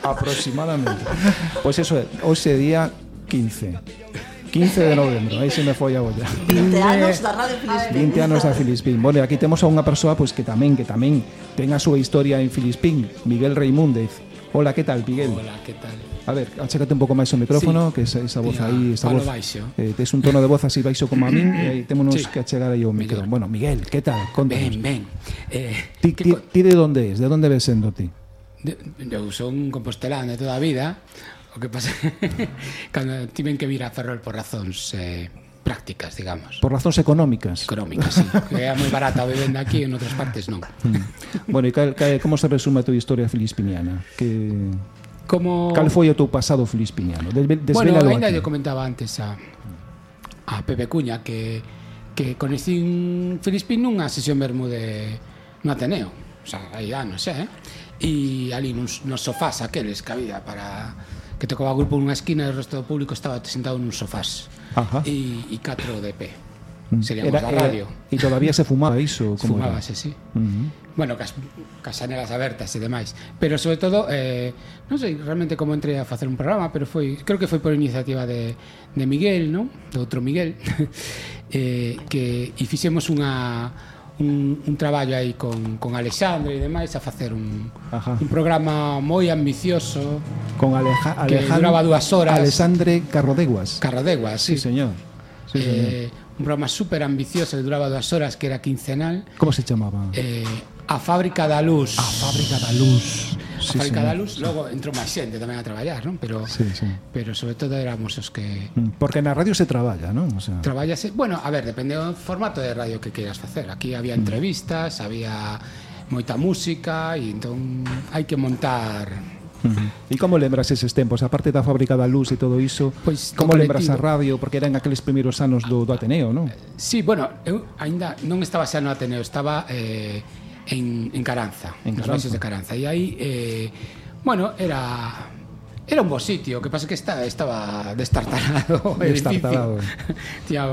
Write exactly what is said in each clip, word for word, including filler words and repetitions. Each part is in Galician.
Aproximadamente. Pois pues eso é, hoxe día quince quince de novembro, aí se me foi a olla. vinte anos da Radio Filispín. vinte anos da Filispín. Bueno, aquí temos a unha persoa pois que tamén que tamén ten a súa historia en Filispín, Miguel Reimúndez. Hola, que tal, Miguel? Hola, que tal? A ver, achécate un pouco máis o micrófono, sí. Que esa, esa voz Tía, aí, esa voz. Eh, tes un tono de voz así baixo como a min, e aí témonos sí. que achegar aí o micro. Bueno, Miguel, que tal? Contanos. Ben, ben. Eh, ti, ti, ti de onde es? De onde ves sendo ti? De, eu son un compostelán de toda a vida. O que pasa cando tiven que vir a Ferrol por razóns eh, prácticas, digamos. Por razóns económicas. Económicas, sí. Que é moi barata a vivenda aquí, en outras partes non. Mm. Bueno, e cal, cal, como se resume a tua historia filispiniana? Que como cal foi o teu pasado filispiniano? Des, bueno, ainda lle comentaba antes a a Pepe Cuña que que conhecín Filispín nunha sesión Bermude no Ateneo. O sea, hai anos, eh? E ali nos, nos sofás aqueles que había para que tocaba grupo nunha esquina e o resto do público estaba sentado nos sofás. Ajá. E, e catro de pé. Seríamos da radio. E todavía se fumaba iso? Como Fumábase, sí. Uh-huh. Bueno, cas, casanelas abertas e demais. Pero sobre todo, eh, non sei realmente como entrei a facer un programa, pero foi, creo que foi por iniciativa de, de Miguel, non? Do outro Miguel. eh, que e fixemos unha un, un traballo aí con, con Alexandre e demais a facer un, un programa moi ambicioso con Aleja, que Alejandro, duraba dúas horas. Alexandre Carrodeguas. Carrodeguas, sí, sí señor, sí, señor. Eh, un programa super ambicioso que duraba dúas horas, que era quincenal. Como se chamaba? Eh, A Fábrica da Luz. A Fábrica da Luz. Sí, a Fábrica da Luz, logo entrou máis xente tamén a traballar, non? Pero sí, sí. pero sobre todo éramos os que porque na radio se traballa, non? O sea, traballase, bueno, a ver, depende do formato de radio que queiras facer. Aquí había entrevistas, había moita música e entón hai que montar. Uh-huh. E como lembras eses tempos? A parte da Fábrica da Luz e todo iso, pois, como lembras a radio? Porque eran aqueles primeiros anos do, do Ateneo, non? Sí, bueno, eu ainda non estaba xa no Ateneo, estaba eh, en, en Caranza, en nos baixos de Caranza. E aí, eh, bueno, era era un bo sitio, o que pasa que está, estaba destartalado. Destartalado. Tía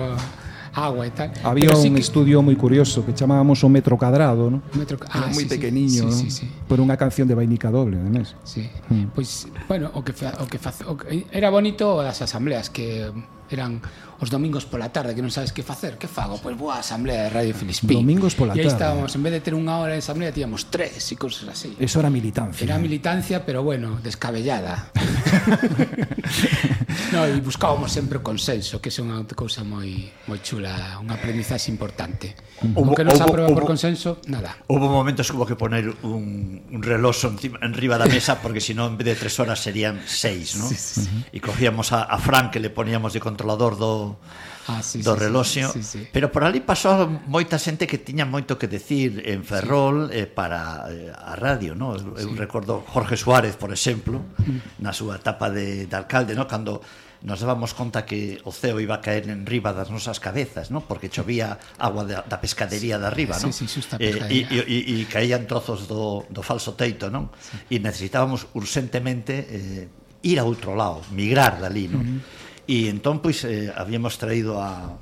agua e tal. Había un sí que... estudio moi curioso que chamábamos o Metro Cadrado, ¿no? Metro... Ah, era moi sí, pequeniño, sí, ¿no? sí, sí. Por unha canción de Vainica Doble, además. Sí. Mm. Pois, pues, bueno, o que fa, o que fa, o que, era bonito as asambleas que eran os domingos pola tarde, que non sabes que facer, que fago? Pois boa asamblea de Radio Filispín. Domingos pola tarde. E aí estábamos, en vez de ter unha hora de asamblea, tíamos tres e cousas así. Eso era militancia. Era militancia, pero bueno, descabellada. No, e buscábamos sempre o consenso, que é unha cousa moi moi chula, unha aprendizaxe importante. O que non se aproba por consenso, nada. Houve momentos que hubo que poner un, un reloxo enriba da mesa, porque senón en vez de tres horas serían seis, ¿no? Sí, sí, sí. E cogíamos a, a Fran, que le poníamos de controlador do Ah, sí, do sí, reloxo, sí, sí, sí. Pero por ali pasou moita xente que tiña moito que decir en Ferrol, sí. eh, para eh, a radio, no? Eu, eu sí. recordo Jorge Suárez, por exemplo, mm. na súa etapa de, de alcalde, no? Cando nos dábamos conta que o ceo iba a caer en riba das nosas cabezas, no? Porque chovía agua da, da pescadería de arriba, sí, no? Sí, sí, eh, e, e, e caían trozos do, do falso teito, non? Sí. E necesitábamos urgentemente eh, ir a outro lado, migrar dali, non? Mm-hmm. E entón, pois, eh, habíamos traído a,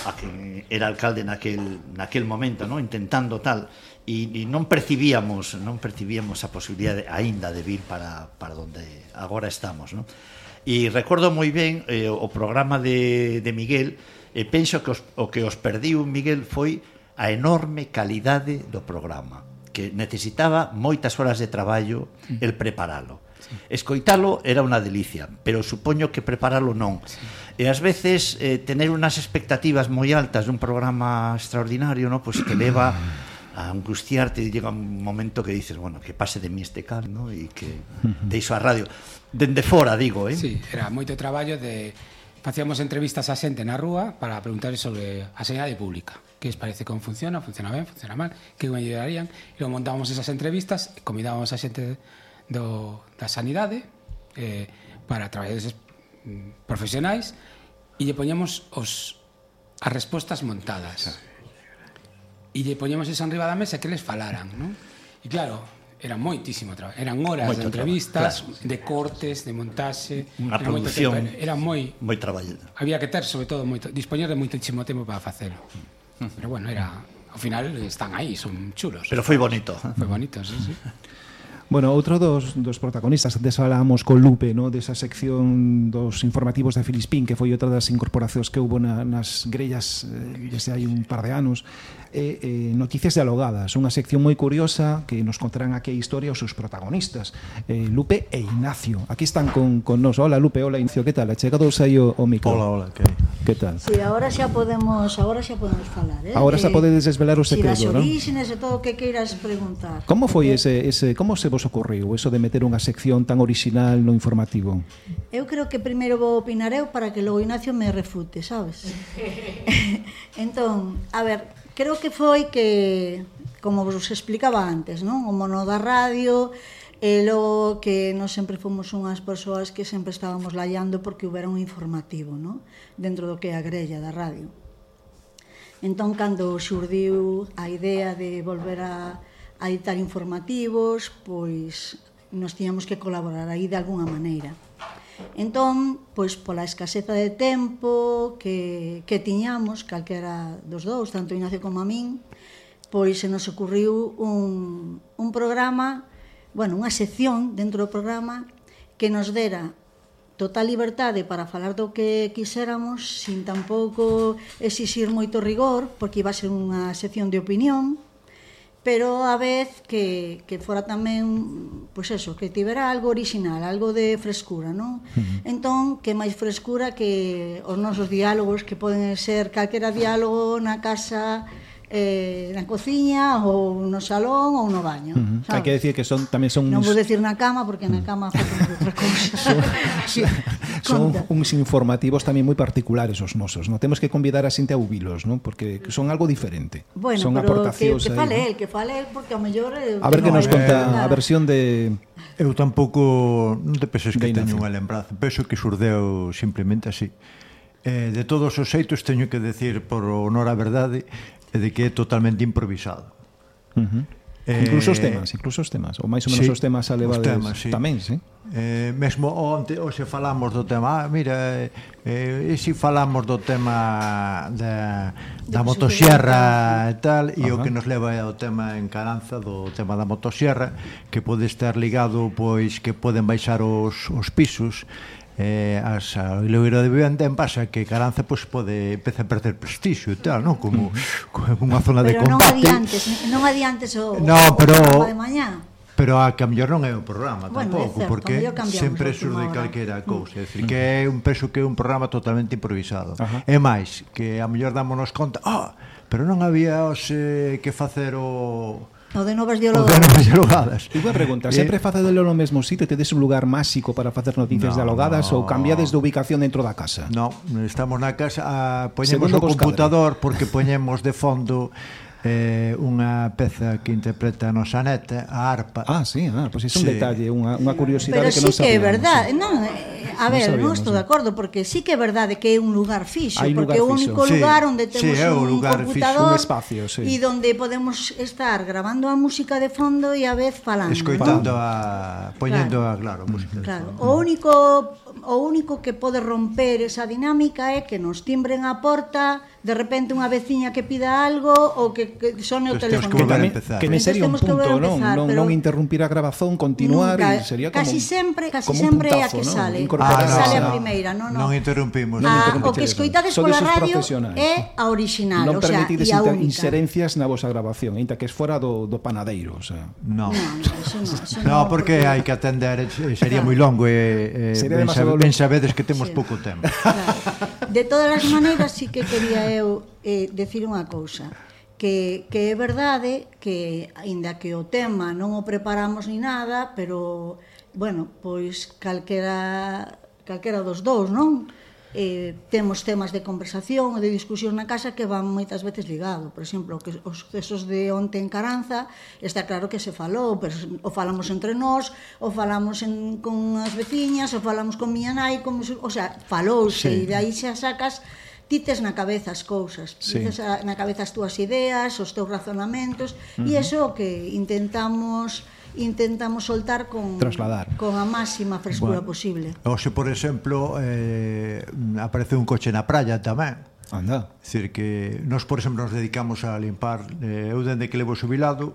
a que era alcalde naquel, naquel momento, ¿no? Intentando tal, e, e non percibíamos non percibíamos a posibilidade aínda de vir para, para donde agora estamos, ¿no? E recordo moi ben eh, o programa de, de Miguel, e penso que os, o que os perdiu Miguel foi a enorme calidade do programa, que necesitaba moitas horas de traballo el preparalo. Escoitalo era unha delicia, pero supoño que preparalo non. Sí. E ás veces eh, tener unas expectativas moi altas dun programa extraordinario, no, pues te leva a angustiarte e llega un momento que dices, bueno, que pase de mí este cal, no, e que deixo a radio dende fora, digo, eh. Sí, era moito traballo de facíamos entrevistas a xente na rúa para preguntar sobre a sanidade pública. Que os parece como funciona, funciona ben, funciona mal, que me ayudarían, e logo montábamos esas entrevistas, e convidábamos a xente do, da sanidade eh, para traballadores profesionais e lle poñemos os, as respostas montadas e lle poñemos eso enriba da mesa que les falaran, non? E claro, era moitísimo traballo, eran horas moito de entrevistas, claro. De cortes, de montaxe, unha producción, tempo, era moi moi traballada. Había que ter sobre todo moito, dispoñer de moitísimo tempo para facelo. Pero bueno, era ao final están aí, son chulos. Pero foi bonito. Foi bonito, sí, sí. Bueno, outro dos, dos protagonistas, antes falábamos con Lupe, no, desa sección dos informativos de Filispín, que foi outra das incorporacións que houve na, nas grellas eh, desde hai un par de anos, eh, eh, Noticias Dialogadas, unha sección moi curiosa que nos contarán aquí a historia os seus protagonistas, eh, Lupe e Ignacio. Aquí están con, con nos. Hola Lupe, hola Ignacio, que tal? Achegados aí o, o micro. Hola, hola, que Que tal? Sí, agora xa podemos, agora xa podemos falar, eh? Agora xa podedes desvelar o Si das secreto, non? orígenes e todo o que queiras preguntar. Como foi Porque ese, ese, como se vos ocorreu eso de meter unha sección tan original no informativo? Eu creo que primeiro vou opinar eu para que logo Ignacio me refute, sabes? Entón, a ver, creo que foi que, como vos explicaba antes, non? O mono da radio, e logo que nós sempre fomos unhas persoas que sempre estábamos laiando porque houbera un informativo, non? Dentro do que é a grella da radio. Entón, cando xurdiu a idea de volver a, a editar informativos, pois nos tiñamos que colaborar aí de alguna maneira. Entón, pois pola escaseza de tempo que, que tiñamos, calquera dos dous, tanto Ignacio como a min, pois se nos ocurriu un, un programa, bueno, unha sección dentro do programa que nos dera total liberdade para falar do que quixéramos sin tampouco exixir moito rigor, porque iba a ser unha sección de opinión, pero a vez que, que fora tamén, pois eso, que tivera algo original, algo de frescura, non? Uh-huh. Entón, que máis frescura que os nosos diálogos, que poden ser calquera diálogo na casa, eh, na cociña ou no salón ou no baño. Uh-huh. Hai que decir que son tamén son non uns... vou decir na cama porque na cama facemos outra cousa. son, son uns informativos tamén moi particulares os nosos, non? Temos que convidar a xente a ouvilos, non? Porque son algo diferente. Bueno, son pero que, aportacións que aí, fale ¿no? el, que fale el porque ao mellor eh, A ver que no, nos eh, conta eh, a versión de eu tampouco non te penses que de teño Ignacio. unha lembranza, penso que xurdeu simplemente así. Eh, de todos os xeitos teño que decir por honor a verdade e de que é totalmente improvisado. Uh-huh. Eh, incluso os temas, incluso os temas, ou máis ou menos sí, os temas a levades temas, sí. tamén, sí. Eh, mesmo onte, hoxe falamos do tema, ah, mira, eh, e se falamos do tema da, da motosierra e tal, e o que nos leva é o tema en Caranza, do tema da motosierra, que pode estar ligado, pois, que poden baixar os, os pisos, eh, as, o ilegueiro de vivenda en pasa que Caranza pois, pode empezar a perder prestixio e tal, non? Como, como unha zona de pero non combate. adiantes, non adiantes o, no, o pero, programa de mañá. Pero a que a mellor non é o programa Bueno, tampouco, é certo, porque sempre surde calquera cousa, é dicir, que é un peso que é un programa totalmente improvisado. Ajá. É máis, que a mellor dámonos conta, ah, pero non había os, eh, que facer o O de novas o de dialogadas. novas dialogadas. Unha pregunta, Eh, sempre facedelo no mesmo sitio, tedes un lugar máxico para facer noticias No, dialogadas no. ou cambiades de ubicación dentro da casa? No, estamos na casa, a, poñemos Segundo o vos computador porque poñemos de fondo eh, unha peza que interpreta a nosa neta, a arpa. Ah, sí, ah, pois pues é un Sí. detalle, unha, unha curiosidade Pero que sí non que é sabíamos. verdade, Sí. non, eh, a Non ver, non sabíamos, estou sí. de acordo porque sí que é verdade que é un lugar fixo, Hai porque é lugar o fixo. único Sí, lugar onde sí, temos é o un lugar fixo, computador un espacio, sí. e donde podemos estar grabando a música de fondo e a vez falando, Escoitando ¿no? a poñendo a, claro, a música. de Claro, fondo. o único o único que pode romper esa dinámica é que nos timbren a porta, de repente unha veciña que pida algo ou que, que sone o Pues temos teléfono. que Que volver a tamén, empezar. que me Entonces sería un temos que volver punto, a non, empezar, non, pero non interrumpir a grabazón, continuar Nunca, e sería como casi sempre, casi como un sempre é a puntazo, que non? sale, Incorporar- a que Ah, sale no, a no. primeira, non, non. Non interrumpimos. Non A, interrumpimos o que eso. escoitades Sodes pola os radio profesionais. é a original, non o sea, permitides e a inter- única. inserencias na vosa grabación, ainda que es fora do, do panadeiro, o sea. No. No, no, eso no, eso No, porque hai que atender, eh, sería moi longo e eh, Sería ben, demasiado sabe, ben longo. sabedes que temos Sí. pouco tempo. Claro. De todas as maneiras, sí que quería eu eh, decir unha cousa, que, que é verdade que, aínda que o tema non o preparamos ni nada, pero, bueno, pois calquera, calquera dos dous, non? Eh, temos temas de conversación ou de discusión na casa que van moitas veces ligado. Por exemplo, que os sucesos de onte en Caranza está claro que se falou, pero o falamos entre nós, o falamos en, con as veciñas, o falamos con miña nai, como, se- o sea, falouse, Sí. e de aí xa sacas tites na cabeza as cousas, Sí. tites a, na cabeza as túas ideas, os teus razonamentos, e iso é o que intentamos intentamos soltar con Trasladar. con a máxima frescura Bueno. posible. Oxe, por exemplo, eh, aparece un coche na praia tamén. Anda. É dicir que nós, por exemplo, nos dedicamos a limpar, eh, eu dende que levo xubilado,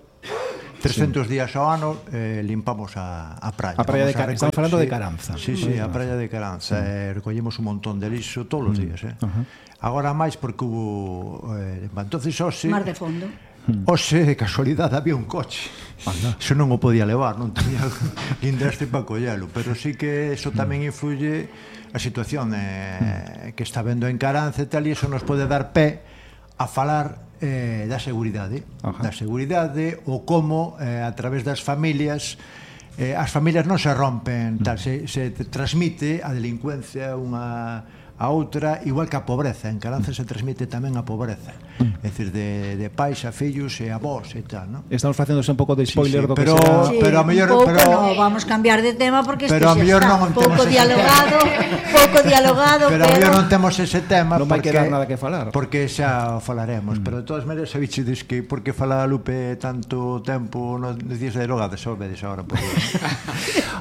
trescentos sí. días ao ano eh, limpamos a, a praia. A praia de Car- Estamos falando sí, de Caranza. Sí, sí, a praia de Caranza. Sí. Eh, recollemos un montón de lixo todos os días. Eh. Uh-huh. Agora máis porque hubo... Eh, entonces, hoxe... Mar de fondo. Hoxe, de casualidade, había un coche. Anda. Eso non o podía levar, non tenía guindaste para collelo. Pero sí que eso tamén influye a situación eh, que está vendo en Caranza e tal, e eso nos pode dar pé a falar eh, da seguridade. Ajá. Da seguridade, ou como eh, a través das familias eh, as familias non se rompen, tal, se, se transmite a delincuencia unha a outra, igual que a pobreza. En Caranza se transmite tamén a pobreza, é dicir, de, de pais a fillos e a vós e tal, non? Estamos facéndose un pouco de spoiler sí, sí, do pero, que será... Sí, pero a mellor, un pouco pero, no, vamos cambiar de tema porque isto pero xa está pouco dialogado, pouco dialogado, pero, pero a mellor non temos ese tema non vai porque, quedar nada que falar. Porque xa o falaremos, mm. pero de todas maneiras sabichedes que porque fala Lupe tanto tempo nos días de drogada, xa o vedes agora por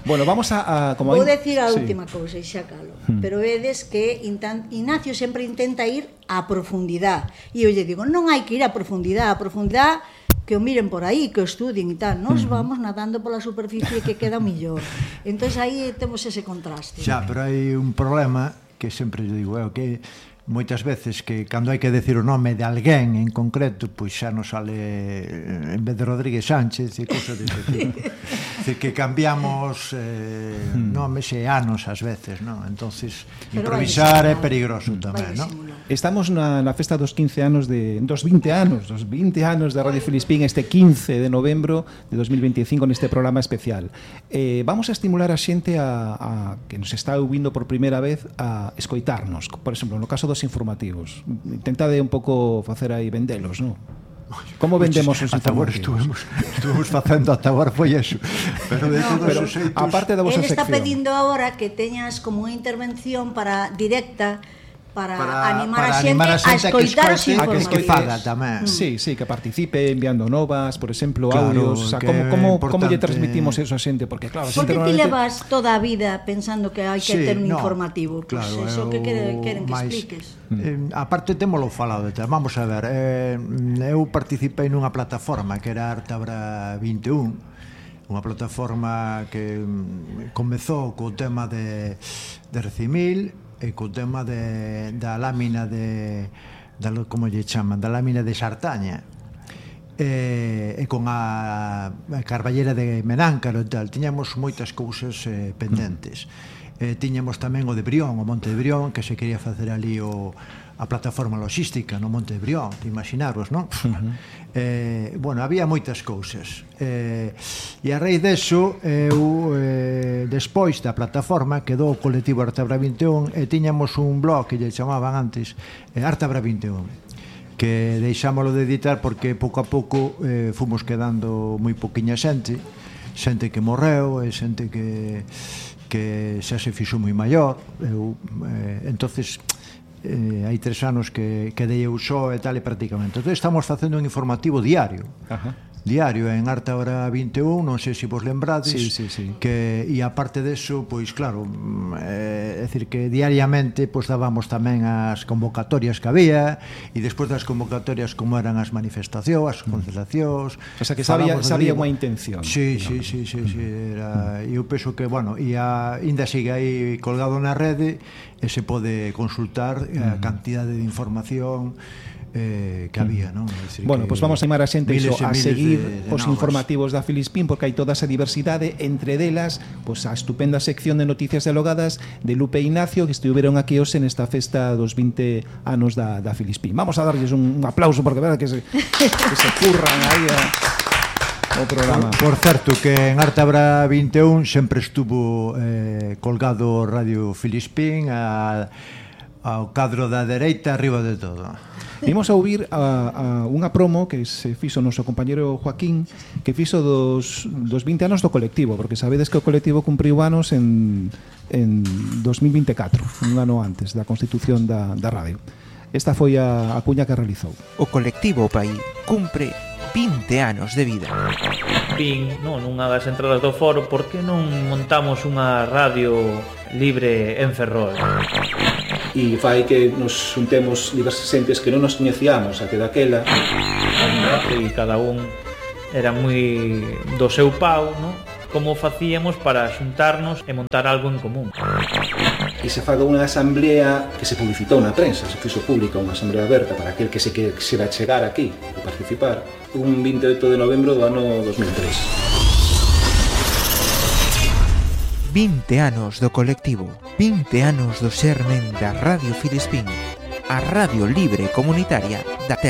Bueno, vamos a, a como vou hay... decir a sí. última cousa e xa calo, mm. pero vedes que Ignacio sempre intenta ir á profundidade e eu lle digo, non hai que ir á profundidade, a profundidade que o miren por aí, que o estudien e tal. Nos vamos nadando pola superficie que queda millor. Entón aí temos ese contraste. Xa, pero hai un problema que sempre eu digo, é o que moitas veces que cando hai que decir o nome de alguén en concreto, pois xa nos sale en vez de Rodríguez Sánchez e cousas desse tipo. Decir, que cambiamos eh, hmm. nomes e anos ás veces, non? Entonces, pero improvisar é perigoso tamén, non? Estamos na, na festa dos quince anos de dos vinte anos, dos vinte anos de Radio Filispín este quince de novembro de dos mil veinticinco neste programa especial. Eh, vamos a estimular a xente a, a que nos está ouvindo por primeira vez a escoitarnos. Por exemplo, no caso dos informativos. Intentade un pouco facer aí vendelos, non? Como vendemos os informativos? Estuvemos, estuvemos facendo ata agora foi eso. Pero de no, todos pero, os xeitos... aparte da vosa sección. Ele está sección. pedindo agora que teñas como unha intervención para directa para, para animar para a xente a, a escoitar os informativos. Que faga tamén. Sí, sí, que participe enviando novas, por exemplo, claro, audios, o sea, como como como lle transmitimos eso a xente, porque claro, porque normalmente... ti levas toda a vida pensando que hai que sí, ter un no, informativo, claro, pues eso eu, que queren, queren que mais, expliques. Eh, aparte témolo falado de tal. Vamos a ver, eh, eu participei nunha plataforma que era Artabra vinte e un, unha plataforma que comezou co tema de de Recimil e co tema de, da lámina de, da, como lle chaman, da lámina de Sartaña e, e con a, a Carballera de Menáncaro e tal, tiñamos moitas cousas eh, pendentes. Eh, tiñamos tamén o de Brión, o Monte de Brión, que se quería facer ali o, a plataforma logística no Monte de Brión, te imaginaros, non? Uh-huh. Eh, bueno, había moitas cousas. Eh, e a raíz deso, eu, eh, despois da plataforma, quedou o colectivo Artabra vinte e un e tiñamos un blog que lle chamaban antes eh, Artabra vinte e un, que deixámoslo de editar porque pouco a pouco eh, fomos quedando moi poquinha xente, xente que morreu e xente que que xa se fixo moi maior. Eu, eh, entonces eh, hai tres anos que, que dei eu só e tal e prácticamente. Entón estamos facendo un informativo diario. Ajá. Diario en Artabra vinte e un, non sei se vos lembrades, sí, sí, sí. que e aparte deso, pois claro, é eh, decir que diariamente pois dábamos tamén as convocatorias que había e despois das convocatorias como eran as manifestacións, as concentracións. O sea que sabía sabía unha intención. Sí, sí, sí, sí, sí, era, eu penso que, bueno, e a, ainda sigue aí colgado na rede e se pode consultar a cantidade de información eh, que había, non? Decir, bueno, pois pues vamos a animar a xente iso, a seguir de, de os novas. informativos da Filispín, porque hai toda esa diversidade, entre delas, pois pues, a estupenda sección de noticias dialogadas de Lupe e Ignacio, que estiveron aquí hoxe nesta festa dos vinte anos da, da Filispín. Vamos a darlles un, un aplauso, porque verdad que se, que se curran aí a, o programa. Por, por certo, que en Artabra vinte e un sempre estuvo eh, colgado Radio Filispín a, ao cadro da dereita arriba de todo. Vimos a ouvir a, a unha promo que se fixo o noso compañero Joaquín, que fixo dos, dos vinte anos do colectivo, porque sabedes que o colectivo cumpriu anos en, en dos mil vinte e catro, un ano antes da constitución da, da radio. Esta foi a, a cuña que realizou. O colectivo Pai cumpre vinte anos de vida. Vin, non, nunha das entradas do foro, por que non montamos unha radio libre en Ferrol? E fai que nos juntemos diversas xentes que non nos coñecíamos até daquela, e cada un era moi do seu pau, non? Como facíamos para xuntarnos e montar algo en común. E se faga unha asamblea que se publicitou na prensa, se fixo pública unha asamblea aberta para aquel que se quixera chegar aquí e participar, un vinte e oito de novembro do ano dos mil tres. vinte anos do colectivo, vinte anos do xermen da Radio Filispín, a radio libre comunitaria da Terra.